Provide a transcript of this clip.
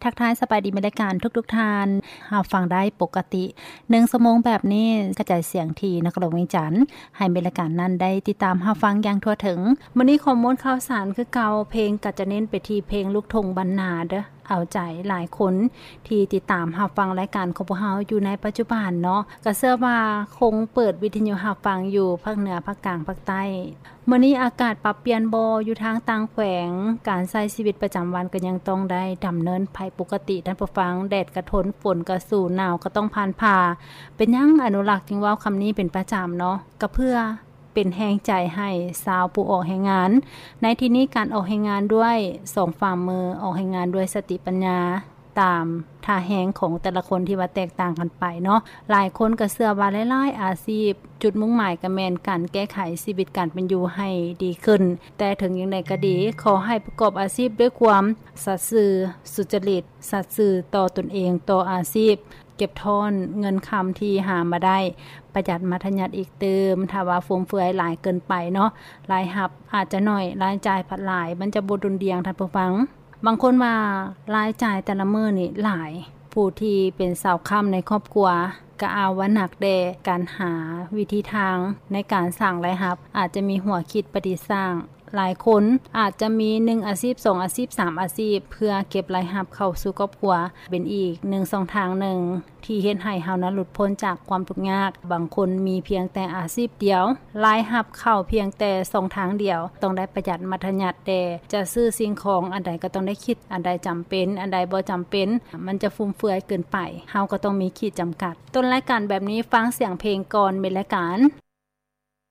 ທັກທາຍສະບາຍດີແມ່ນລາຍການທຸກໆທ່ານ ຮັບຟັງໄດ້ປົກກະຕິ ໜຶ່ງຊົ່ວໂມງແບບນີ້ ກະຈາຍສຽງທີ່ນະຄອນຫຼວງວຽງຈັນ ໃຫ້ແມ່ນລາຍການນັ້ນໄດ້ຕິດຕາມຮັບຟັງຢ່າງທົ່ວເຖິງ. ມື້ນີ້ຂໍ້ມູນຂ່າວສານຄືເກົ່າ, ເພງກໍຈະເນັ້ນໄປທີ່ເພງລູກທົ່ງບ້ານນາເດີ້. ເອົາໃຈຫຼາຍຄົນທີ່ຕິດຕາມຮັບຟັງລາຍການຂອງພວກເຮົາຢູ່ໃນປັດຈຸບັນເນາະ ກໍເຊື່ອວ່າຄົງເປີດວິທະຍຸຮັບຟັງຢູ່ພາກເໜືອ, ພາກກາງ, ພາກໃຕ້. ມື້ນີ້ອາກາດປັບປ່ຽນບໍ່ ຢູ່ທາງຕ່າງແຂວງ, ການໃຊ້ຊີວິດປະຈຳວັນກໍຍັງຕ້ອງໄດ້ດຳເນີນໄປປົກກະຕິທ່ານຜູ້ຟັງ, ແດດກໍທົນ, ຝົນກໍສູ້, ໜາວກໍຕ້ອງຜ່ານຜ່າ. ເປັນຫຍັງອະນຸລັກຈຶ່ງເວົ້າຄຳນີ້ເປັນປະຈຳເນາະ? ກໍເພື່ອ ເປັນແຮງໃຈໃຫ້ຊາວຜູ້ອອກແຮງງານ. ໃນທີ່ນີ້ການອອກແຮງງານດ້ວຍສອງຝ່າມື, ອອກແຮງງານດ້ວຍສະຕິປັນຍາ ຕາມທ່າແຮງຂອງແຕ່ລະຄົນທີ່ວ່າແຕກຕ່າງກັນໄປເນາະ. ຫຼາຍຄົນກໍເຊື່ອວ່າຫຼາຍໆອາຊີບ ຈຸດມຸ່ງໝາຍກໍແມ່ນການແກ້ໄຂຊີວິດການເປັນຢູ່ໃຫ້ດີຂຶ້ນ. ແຕ່ເຖິງຢ່າງໃດກໍດີ, ຂໍໃຫ້ປະກອບອາຊີບດ້ວຍຄວາມສັດຊື່, ສຸຈະລິດ, ສັດຊື່ຕໍ່ຕົນເອງ, ຕໍ່ອາຊີບ. ເກັບທ້ອນເງິນຄຳທີ່ຫາມາໄດ້, ປະຢັດມັດທະຍັດອີກຕື່ມ. ຖ້າວ່າຟຸມເຟືອຍຫຼາຍເກີນໄປເນາະ, ລາຍຮັບອາດຈະໜ້ອຍ, ລາຍຈ່າຍພັດຫຼາຍ, ມັນຈະບໍ່ດຸ່ນດ່ຽງ, ທ່ານຜູ້ຟັງ. ບາງຄົນວ່າລາຍຈ່າຍແຕ່ລະມື້ນີ້ຫຼາຍ, ຜູ້ທີ່ເປັນສາວຄ້ຳໃນຄອບຄົວກໍອ້າງວ່າໜັກແດ່. ການຫາວິທີທາງໃນການສ້າງລາຍຮັບ ອາດຈະມີຫົວຄິດປະດິດສ້າງ. ຫຼາຍຄົນອາດຈະມີໜຶ່ງອາຊີບ, ສອງອາຊີບ, ສາມອາຊີບ ເພື່ອເກັບລາຍຮັບເຂົ້າສູ່ຄອບຄົວ ເປັນອີກໜຶ່ງຊ່ອງທາງໜຶ່ງທີ່ເຮັດໃຫ້ເຮົານັ້ນຫຼຸດພົ້ນຈາກຄວາມທຸກຍາກ. ບາງຄົນມີພຽງແຕ່ອາຊີບດຽວ, ລາຍຮັບເຂົ້າພຽງແຕ່ຊ່ອງທາງດຽວ, ຕ້ອງໄດ້ປະຢັດມັດທະຍັດແດ່. ຈະຊື້ສິ່ງຂອງອັນໃດກໍຕ້ອງໄດ້ຄິດ, ອັນໃດຈຳເປັນ, ອັນໃດບໍ່ຈຳເປັນ, ມັນຈະຟຸມເຟືອຍເກີນໄປ, ເຮົາກໍຕ້ອງມີຂີດຈຳກັດ. ຕົ້ນລາຍການແບບນີ້, ຟັງສຽງເພງກ່ອນ ແມ່ນລາຍການ.